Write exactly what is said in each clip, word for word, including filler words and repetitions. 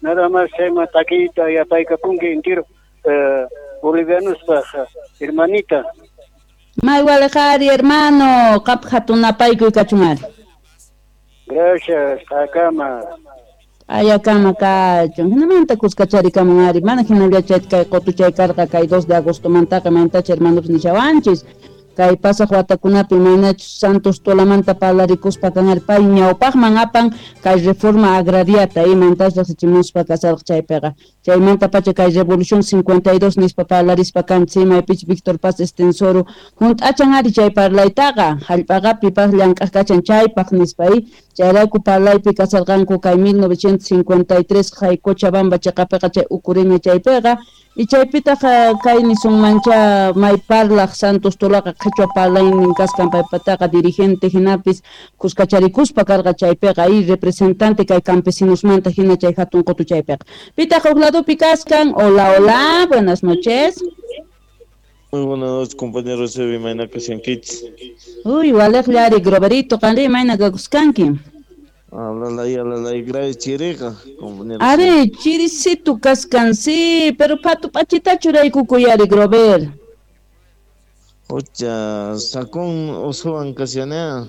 Nada más chayman takiyta yapaykapunki entero eh, bolivianospaj, hermanita. May walejari, hermano, qap hatunapaykuy kachun ari. Gracias, akama. Ayakama kachun. Hinamanta kuskacharikamun ari. Mana hinallachay kay qotuchay karqa kay dos de agosto mantaqa mantacha hermanos nishawanchis. Kay pasaq watakunapi maynachus Santos Tolamanta parlarikuspa kan pay ñawpaqman apan kay reforma agrariata imantas riqsichimuspa kasarqa chaypiqa. Chaymanta pacha kay revolución cincuenta y dos nispa parlarispa kanchis imaypich Víctor Paz Estenssoro hunt'achan ari chay parlaytaqa hallp'aqapi paq llank'aq kachan chaypaq nispa y chayrayku parlaypi kasarqanku kay mil novecientos cincuenta y tres kay Cochabamba chaqapiqa chay ukureña chaypiqa. Y chaypitaq kay nisunmancha may parlaq Santos Tolaqa qhichwa parlaynin kasqan paypataqa dirigente hinapis kuskacharikuspa karqa chaypiqa y representante kay campesinosmanta hina chay hatun qutu chaypiqa. Pitaq huk ladopi kaskan. Hola, hola, buenas noches. Muy buenas noches, compañeros de Mayna Kasiankichis. Uy, waleqllari, Groverito, qanri mayna kakuskanki. Alalay, alalay, grave chiriqa, compañero. Are, chiricito kaskan, sí, pero patu pachita churaykukuyari, Grover. Ocha, sacón osuan kasianea.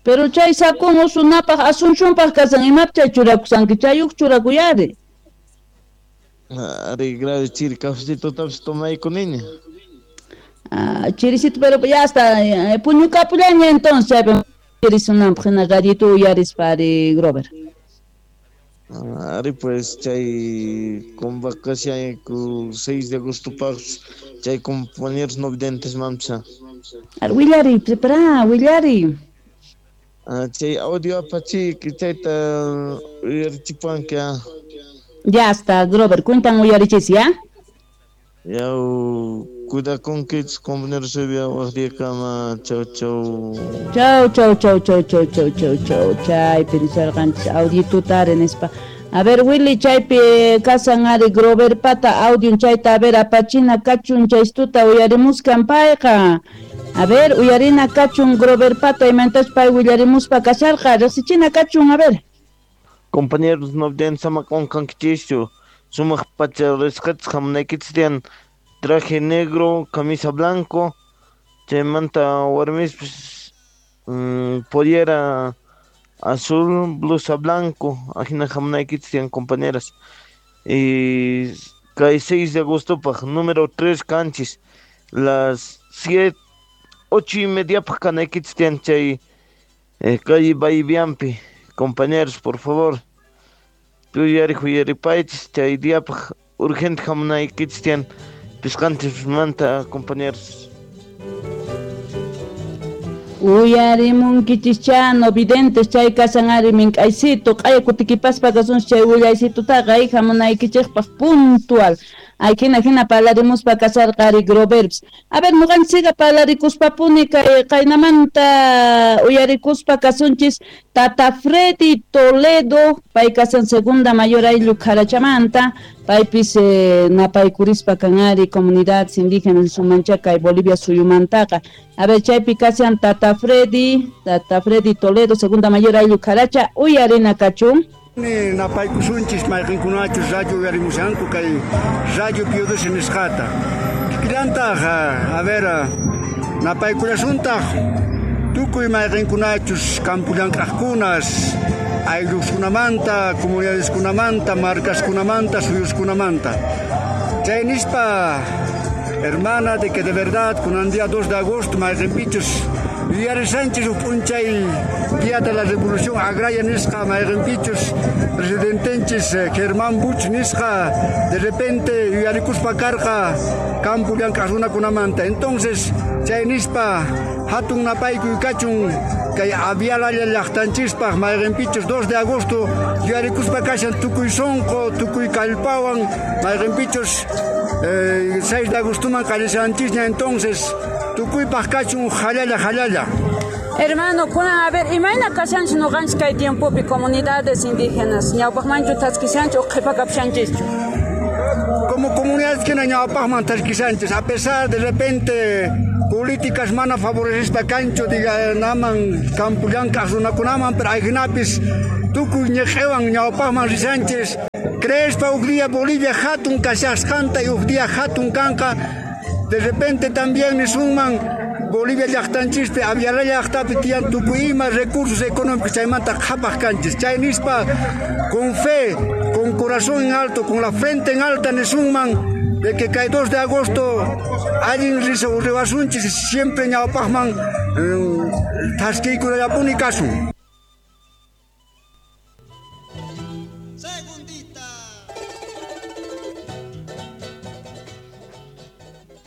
Pero chay sacón osunapaj, asuncionpaj kasan, imap chay churakusanki, chayuq churakuyari. Are, grave chiri, cafecito tapis tomayku niña. Ah, chiricito, pero ya está, eh, puñukapullaña entonces, chaypi. Chirisunanpaj hina radito uyarispa ari Grover. Ari pues chay convocación seis de agosto paq chay compañeros no videntes mamcha. Ar willari, prepara, willari. Ah, chay audio apachi chayta uyarichipanka. Ya está, Grover, cuentan uyarichis ya. Ya cuidakunkichis compañeros waqriyakama. Chau chau. Chau chau chau chau chau chau chau chau. Chaypi nisarqanchis audituta ari nispa. A ver Willy chaypi kasan ari Grover pata audio chayta a ver apachina kachun chaystuta uyarimuskan payqa. A ver uyarina kachun Grover pata imantas pay willarimuspa kasharqa riqsichina kachun a ver. Compañeros no sama qunqankichischu. Sumaq pacha risqachis hamunaykichis tiyan traje negro, camisa blanco, chaymanta warmispis mmm, pollera azul, blusa blanco, ajina hamunaykichis tiyan compañeras. Y kay seis de agosto paj número tres canchis, las siete, ocho y media paj kanaykichis tiyan chay eh, calle Baibiampi, compañeros, por favor. Tuyari huyaripaychis chay diapaj urgente hamunaykichis tiyan pisqanchismanta compañeros. Uyarimunkichis no videntes chay kasan ari mink'aysito q'aya kutikipaspa kasunchis chay willaysitutaqa ay hamunaykichikpaq puntual. Ay hina hina parlarimuspa kasarqa ari Groverbs. A ver nuqanchikqa parlarikuspapuni kay qaynamanta uyarikuspa kasunchis Tata Freddy Toledo pay kasan segunda mayor ayllu Kharachamanta paypis eh, napaykurispa kan ari comunidades indígenas Sumanchaca y Bolivia suyumantaqa. A ver chaypi kasan Tata Freddy, Tata Freddy Toledo segunda mayor ayllu Kharacha uyarina kachun. Napaykusunchis mayqinkunachus rayo uyarimushanku kay rayo Pio doce nisqata. Kikillantaq, a ver, napaykulasuntaj tukuy mayqinkunachus campo llank'aqkunas aylluskunamanta, comunidadeskunamanta, marcaskunamanta, suyuskunamanta. Chay nispa, hermana, de que de verdad kunan día dos de agosto mayqinpichus yuyarisanchis huk p'unchay Día de la Revolución Agraria nisqa mayqinpichus presidentenchis Germán Buch nisqa de repente yuyarikuspa karqa campo llank'aq runakunamanta. Entonces chay nispa hatun napaykuy kachun kay avialalla llaqtanchispaq mayqinpichus dos de agosto yuyarikuspa kashan tukuy sunqu tukuy kallpawan mayqinpichus eh, seis de agostoman qallishanchisña. Entonces tukuypaq kachun jalalla jalalla. Hermano, kunan a ver, imayna kashanchis nuqanchis kay tiempopi comunidades indígenas ñawpaqmanchu thaskishanchis o qhipakapushanchischu? Como comunidades que ñawpaqman thaskishanchis, a pesar de repente políticas mana favorecespa kanchu diga naman campo llank'aq runakunaman, pero ayhinapis tukuy ñiq'iwan ñawpaqman rishanchis. Creespa huk día Bolivia hatun kashasqanta y huk día hatun kanqa. De repente también nisunman Bolivia llaqtanchispi Aviala llaqtapi tiyan tukuy ima recursos económicos chaymanta qhapaq kanchis. Chay nispa con fe, con corazón en alto, con la frente en alta nisunman de que kay dos de agosto allin riwasunchis siempre ñawpaqman thaskiykunallapuni kasun.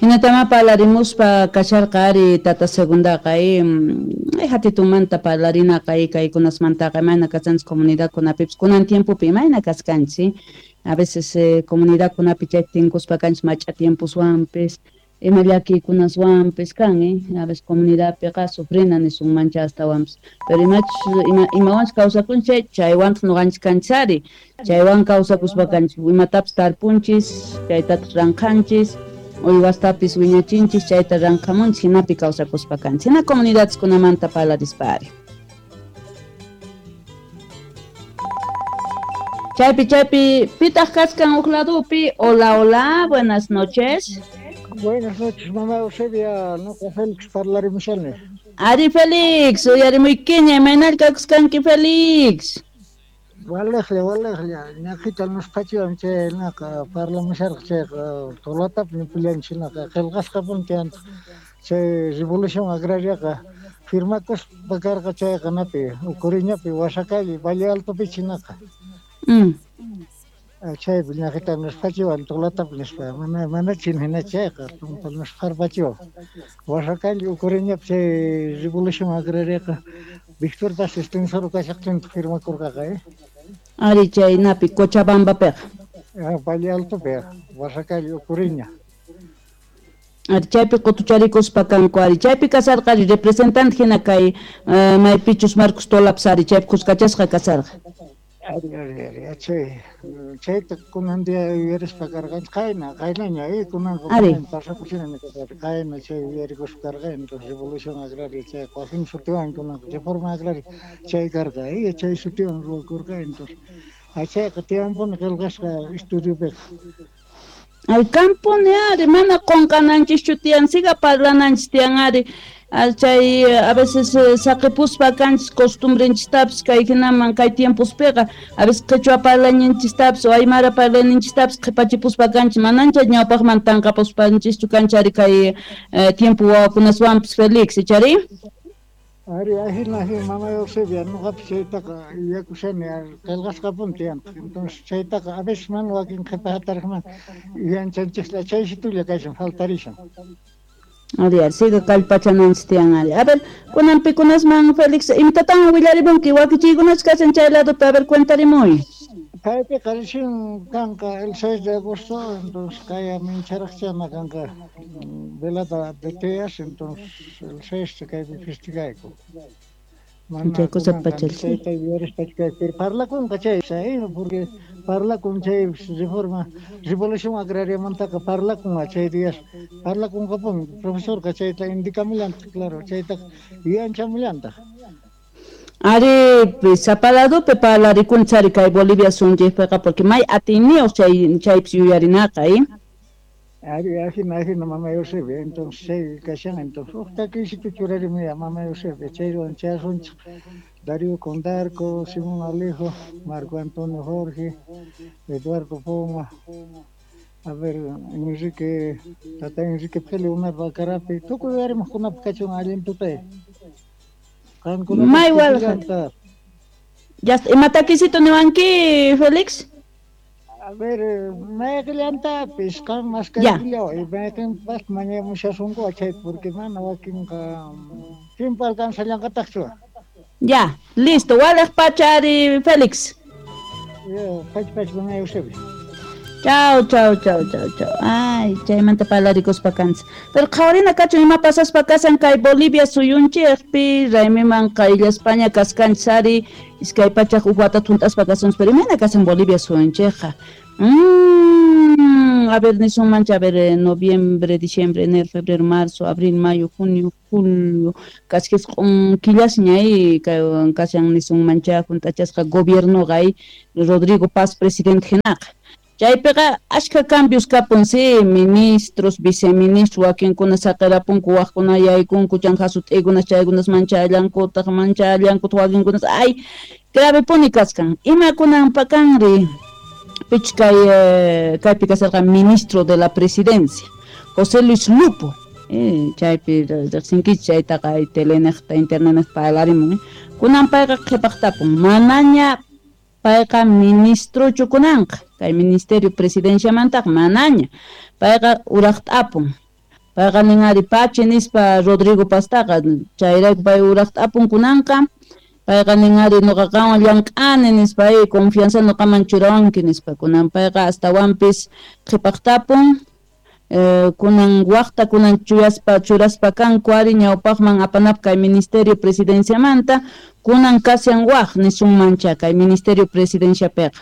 Hinatama parlarimuspa kasharqa ari tata segundaqa eh, hatitumanta parlarinaqa kaykunasmantaqa imayna kashanchis comunidadkunapipis kunan tiempopi imayna kaskanchis a veces eh, comunidadkunapi chay tinkuspa kanchis mach'a tiempuswanpis ima llakiykunaswanpis kan eh a veces comunidadpiqa sufrina nisunmancha astawanpis pero imachus ima imawanchus kawsakunchik chaywantaq ñuqanchis kanchis ari chaywan kawsakuspa kanchis imatapis tarpunchis chaytataq ranqanchis uywastapis wiñachinchis chayta ranqamunchis hinapi kawsakuspa kanchis hina comunidadeskunamanta parlarispa ari. Chaypi chaypi pitaq kaskan huk ladupi. Hola, hola, buenas noches. Buenas noches, mamá Eusebia, noqa Félix parlarimushani. Ari Félix, uyarimuykiña, imaynalla kakuskanki Félix? Walejlla, walejlla, ñaqita nusqachiwan chay naqa parlamusharqa chayqa Tolatapi ñupillanchis naqa qillqasqapuni tiyantaq chay revolución agrariaqa firmakuspa karqa chayqa napi Ucuriñapi Huasacalle Valle Altopichi naqa. Mm. Chaypi ñaqita nusqachiwan Tolatapi nispa mana mana chin hina chayqa tumpa nusqarpachiwan Huasacalle Ucuriñapi chay revolución agrariaqa Víctor Paz Estenssoro kashaqtintaq firmakurqaqa eh. Ari chaynapi Cochabambapiqa. Ah, Valle Altopi, Huasacalle Ucuriña. Ari chaypi qutucharikuspa kanku ari chaypi kasarqa ari representante hina kay uh, maypichus Marcos Tolapis ari chaypi kuskachasqa kasarqa. Ari ari ari chay chayta kunan día yuyarispa karqanchik qayna qaynaña eh kunanqa pasapuchina kasarqa qayna chay yuyarikuspa karqa entonces revolución agraria chay wakin sutiwan kunanqa reforma agraria chay karqa eh chay sutiwan ruwakurqa entonces chayqa tiyanpuni qillqasqa estudiopiqa. Ay kampuni ari mana qunqananchischu tiyan siga parlananchis tiyan ari chay a veces saqipuspa kanchis costumbrenchistapis kay hinaman kay tiempospiqa a veces qhichwa parlayninchistapis o aymara parlayninchistapis qhipachipuspa kanchis manancha ñawpaqman tanqapuspanchischu kanchis ari kay tiempo wawakunaswanpis Félix ichari. Ari ajina ajina mamá Eusebia ñuqapis chaytaqa yuyakushani qillqasqapuni tiyantaq entonces chaytaqa a veces mana wakin qhipa hatariqman yuyanchanchikla chaysitulla kashan faltarishan. Ari, ari, siga kallpachananchis tiyan ari. A ver, kunan pikunasman Félix, imatatan willarimunki wakichiykunachu kashan chay ladopi, a ver, cuentarimuy. Kaypiqa recién kanqa el seis de agosto, entonces kaya mincharaqchana kanqa velada de teas, entonces el seis kaypi festigayku. Chay cosa pachal. Chayta yuyarispa pero parlakunqa chay, porque parlakun chay reforma, revolución agrariamantaqa parlakunqa chay días, parlakunqapuni profesorqa chayta indicamullantaq, claro, chaytaqa yuyanchamulantaq. Ari, sapaladupi parlarikunchis ari kay Bolivia sunchikpiqa porque may atiyniyuq chay chaypis yuyarinaqa eh. Ari, ajina, ajina, mamá Eusebia, entonces chay kashan, entonces huk takiysitu churarimuya mamá Eusebia, chaywan chayasunchik Darío Condarco, Simón Alejo, Marco Antonio Jorge, Eduardo Poma, a ver, Enrique, tata Enrique Pele, Umar Bacarapi, tukuy yuyarimuqkunapi kachun allin tutay. May walqa. Ya, ima takisito niwanki, Félix? A ver, mayqillantapis qam maskaykillaw, mayqinpas mañamushasunku chay porque mana wakinqa tiempo alcanzallanqataqchu. Ya, listo, walej pacha ari Félix. Ya, pacha pacha mamá Eusebia. Chao, chao, chao, chao, chao. Ay, chaymanta parlarikuspa kanchis. Pero qhawarina kachun ima pasaspa kasan kay Bolivia suyunchikpi raymiman qayllaspaña kaskanchis ari iskay pachaq huk watata hunt'aspa kasunchis pero imayna kasan Bolivia suyunchikqa. Mm, a ver nisunmancha, a ver eh, noviembre, diciembre, enero, febrero, marzo, abril, mayo, junio, julio, casi jisq'un killasña kashan nisunmancha junt'achasqa gobiernoqa Rodrigo Paz presidente hinaqa. Chaypiqa ashka cambios kapun, sí, ministros, viceministros, wakinkuna saqirapunku, waqkuna yaykunku, chan hasut'ikunas chaykunas manchallankutaq, manchallankutaq wakinkunas, ay, grave puni kaskan. Imakunanpa kanri pich kay eh, kaypi kasarqa ministro de la presidencia, José Luis Lupo. Eh, chaypi riqsinkichik chaytaqa telenejta, internetnejta parlarimun. Eh. Kunan payqa qhipaqtapun, manaña payqa ministrochu kunanqa, kay ministerio presidenciamantaqa manaña, payqa uraqt'apun. Payqa nin ari pachi nispa Rodrigo Pastaqa, chayrayku pay uraqt'apun kunanqa, payqa nin ari nuqa qanwan llank'ani nispa, ay confianza nuqaman churawanki nispa, kunan payqa astawanpis qhipaqtapun. Eh, kunan waqta kunan chuyaspa churaspa kanku ari ñawpaqman apanap kay ministerio presidenciamanta, kunan kashan waq nisunmancha kay ministerio presidenciapiqa.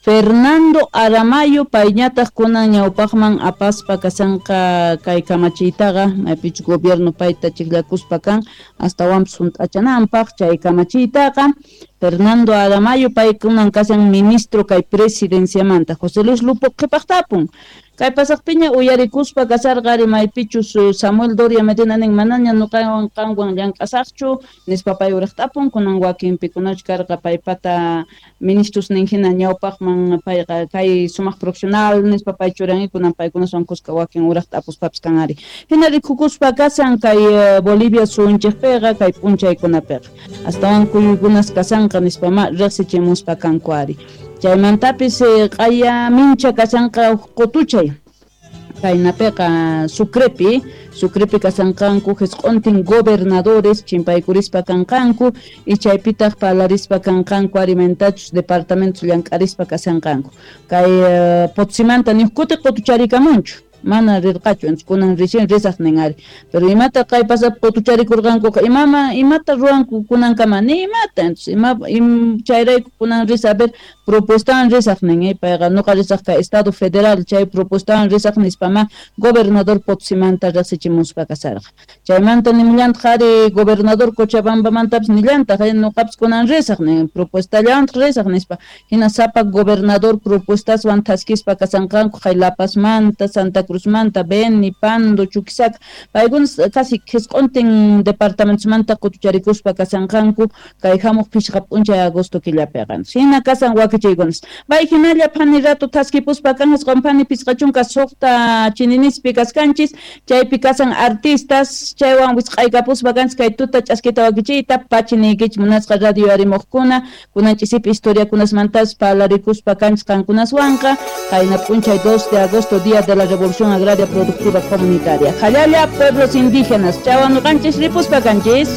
Fernando Aramayo payñataq kunan ñawpaqman apaspa kasanqa kay kamachiytaqa, maypichu gobierno payta chiqllakuspa kan astawanpis hunt'achananpaq chay kamachiytaqa. Fernando Aramayo pay kunan kashan ministro kay presidenciamanta. José Luis Lupo qhipaqtapun. Kay pasaqpiña uyarikuspa kasarqa ari maypichus Samuel Doria Medina nin manaña nuqawan qanwan llank'asaqchu nispa pay uraqtapun, kunan wakinpikunachu karqa paypata ministros nin hina ñawpaqman payqa kay sumaq profesional nispa pay churan kunan paykunaswan kuska wakin uraqtapuspapis kan ari. Hina rikukuspa kasan kay Bolivia suyunchikpiqa kay p'unchaykunapiqa astawan kuyuykunas kasanqa nispa ma riqsichimuspa kanku ari. Chaymantapis q'aya mincha kasanqa qutuchay kaynapiqa Sucrepi, Sucrepi kasanqanku jisq'untin gobernadores chimpaykurispa kanqanku y chaypitaq parlarispa kanqanku alimentachus departamentos llank'arispa kasanqanku. Kay Potsimanta ni kuti qutucharikamunchu, mana rirqachu, entonces kunan recién risaq nin ari. Pero imata kay pasap qutucharikurqankuqa imama imata ruwanku kunankama ni imata, entonces ima im, chayrayku kunan risa a ver propuestawan risaq nin, eh, payqa nuqa risaq kay Estado Federal chay propuestawan risaq nispama gobernador Potsimanta riqsichimuspa kasarqa. Chaymanta nimillantaq ari gobernador Cochabambamantapis nillantaq eh, nuqapis kunan risaq nin, propuestallawantaq risaq nispa. Hina sapa gobernador propuestaswan thaskispa kasanqanku kay La Pazmanta, Santa Cruzmanta, Beni, Pando, Chuquisaca, paykunas casi jisq'untin departamentosmanta qutucharikuspa kasanqanku kay hamuq phishqa p'unchay agosto killapiqa. Hina kasan wakichiykunas. Bay hinalla phani rato thaskipuspa kan jisq'un phani phishqa chunka suqta chininispi kaskanchis, chaypi kasan artistas, chaywan wisq'aykapuspa kanchis kay tuta ch'askita wakichiyta pachiniykichik munasqa radio arimuqkuna, kunan ch'isipi historiakunasmantas parlarikuspa kanchis qankunaswanqa, qayna p'unchay dos de agosto, día de la Revolución Agraria Productiva Comunitaria. Jalala, pueblos indígenas. Chawanuqanchis ripuspa kanchis.